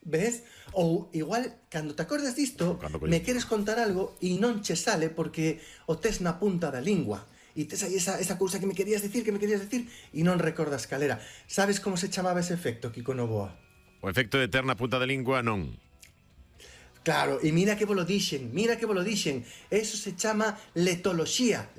Ves? Ou igual, cando te acordas disto, me queres contar algo e non che sale porque o tes na punta da lingua. E tes aí esa cousa que me querías decir e non recordas calera. Sabes como se chamaba ese efecto, Kiko Novoa? O efecto de ter na punta da lingua non. Claro, e mira que vos lo dixen. Eso se chama letoloxía.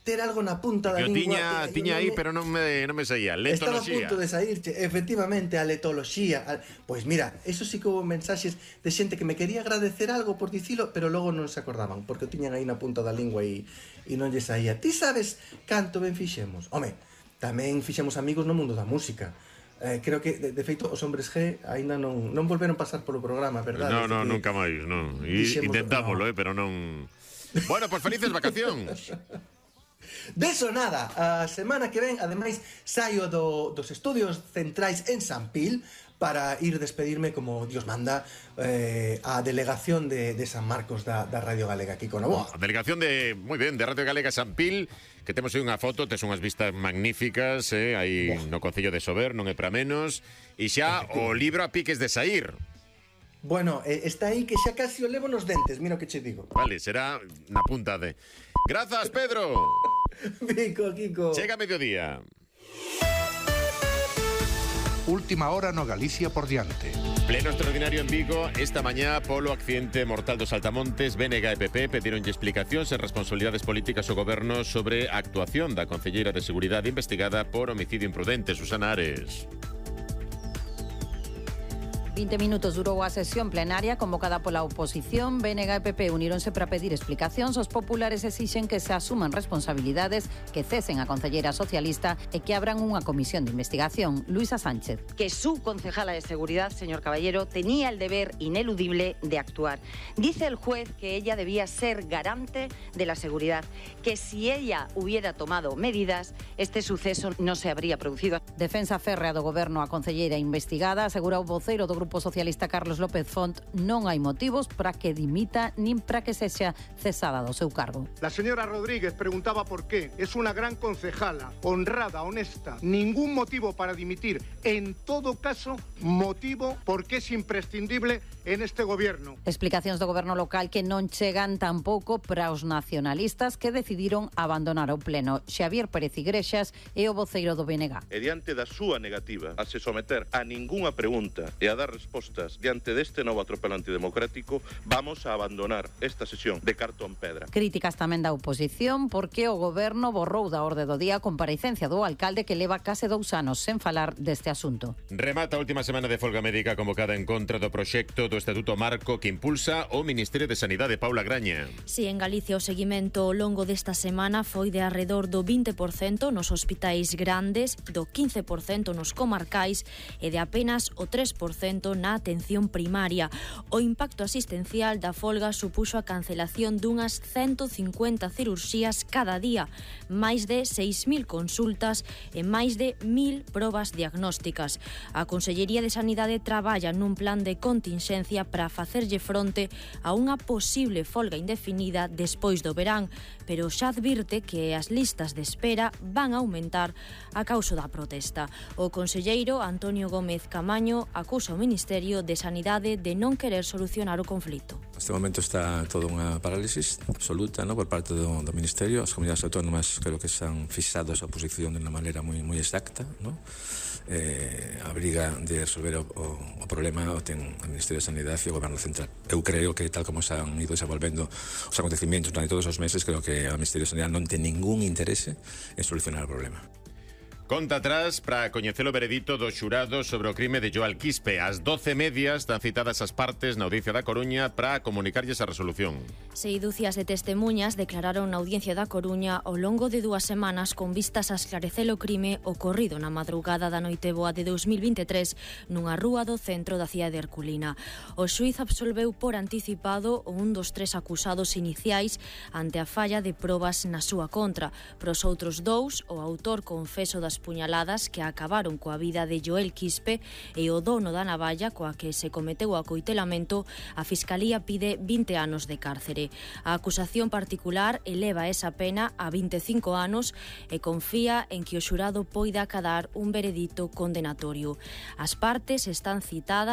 Ter algo na punta da lingua. Tiña aí, pero non me saía. Letoloxía. Estaba a punto de saírche, efectivamente, a letoloxía. Pois mira, eso sí que houve mensaxes de xente que me quería agradecer algo por dicilo, pero logo non se acordaban, porque o tiñan aí na punta da lingua e non lle saía. Ti sabes canto ben fixemos? Home, tamén fixemos amigos no mundo da música. Creo que, de feito, os hombres G aínda non volveron pasar polo programa, verdade? Non, nunca máis, non. Intentámoslo, pero non... Bueno, pois felices vacacións. Deso nada, a semana que ven, ademais, saio dos estudios centrais en San Pil para ir despedirme, como Dios manda, a delegación de San Marcos da Radio Galega, Kiko Novoa. A delegación de Radio Galega San Pil, que temos aí unha foto, tes unhas vistas magníficas, aí no Concello de Sober, non é para menos, e xa o libro a piques de saír. Bueno, está aí que xa casi o levo nos dentes, mira o que che digo. Vale, será na punta de... Grazas, Pedro! Kiko. Chega a mediodía. Última hora no Galicia por diante. Pleno extraordinario en Vigo esta mañá polo accidente mortal dos Saltamontes. BNG e PP pedironlle explicacións e responsabilidades políticas ao goberno sobre a actuación da concelleira de Seguridade investigada por homicidio imprudente, Susana Ares. 20 minutos durou a sesión plenaria convocada pola oposición. BNG e PP uníronse para pedir explicacións. Os populares exixen que se asuman responsabilidades, que cesen a concelleira socialista e que abran unha comisión de investigación. Luisa Sánchez. Que su concejala de Seguridad, señor Caballero, tenía el deber ineludible de actuar. Dice el juez que ella debía ser garante de la seguridad, que si ella hubiera tomado medidas, este suceso no se habría producido. Defensa férrea do goberno a concelleira investigada. Asegura o voceiro do Grupo Socialista Carlos López Font, non hai motivos para que dimita nin para que sexa cesada do seu cargo. La señora Rodríguez preguntaba por qué. Es una gran concejala, honrada, honesta. Ningún motivo para dimitir. En todo caso, motivo porque es imprescindible en este gobierno. Explicacións do goberno local que non chegan tampouco para os nacionalistas que decidiron abandonar o pleno. Xavier Pérez Igrexas é o voceiro do BNG. E diante da súa negativa a se someter a ningunha pregunta e a dar respostas diante deste novo atropelo antidemocrático, vamos a abandonar esta sesión de cartón pedra. Críticas tamén da oposición porque o goberno borrou da orde do día a comparecencia do alcalde que leva case 2 anos sen falar deste asunto. Remata a última semana de folga médica convocada en contra do proxecto do Estatuto Marco que impulsa o Ministerio de Sanidade. Paula Graña. Si, en Galicia o seguimento ao longo desta semana foi de arredor do 20% nos hospitais grandes, do 15% nos comarcais e de apenas o 3% na atención primaria. O impacto asistencial da folga supuxo a cancelación dunhas 150 cirurxías cada día, máis de 6.000 consultas e máis de 1.000 probas diagnósticas. A Consellería de Sanidade traballa nun plan de continxencia para facerlle fronte a unha posible folga indefinida despois do verán, pero xa advirte que as listas de espera van a aumentar a causa da protesta. O conselleiro Antonio Gómez Camaño acusa o Ministerio de Sanidade de non querer solucionar o conflito. Neste momento está toda unha parálisis absoluta, por parte do Ministerio. As comunidades autónomas creo que están fixados a posición de unha maneira moi exacta, a briga de resolver o problema o ten o Ministerio de Sanidade e o Goberno Central. Eu creo que tal como se han ido desenvolvendo os acontecimientos durante todos os meses, creo que o Ministerio de Sanidade non ten ningún interese en solucionar o problema. Conta atrás para coñecer o veredito do xurado sobre o crime de Joel Quispe. Ás 12:30 están citadas as partes na Audiencia da Coruña para comunicarlles a resolución. 6 dúcias de testemuñas declararon na Audiencia da Coruña ao longo de 2 semanas con vistas a esclarecer o crime ocorrido na madrugada da Noiteboa de 2023 nunha rúa do centro da cidade de Herculina. O xuíz absolveu por anticipado un dos 3 acusados iniciais ante a falla de probas na súa contra. Pros outros 2, o autor confeso das puñaladas que acabaron coa vida de Joel Quispe e o dono da navalla coa que se cometeu o acoitelamento, a Fiscalía pide 20 anos de cárcere. A acusación particular eleva esa pena a 25 anos e confía en que o xurado poida acadar un veredito condenatorio. As partes están citadas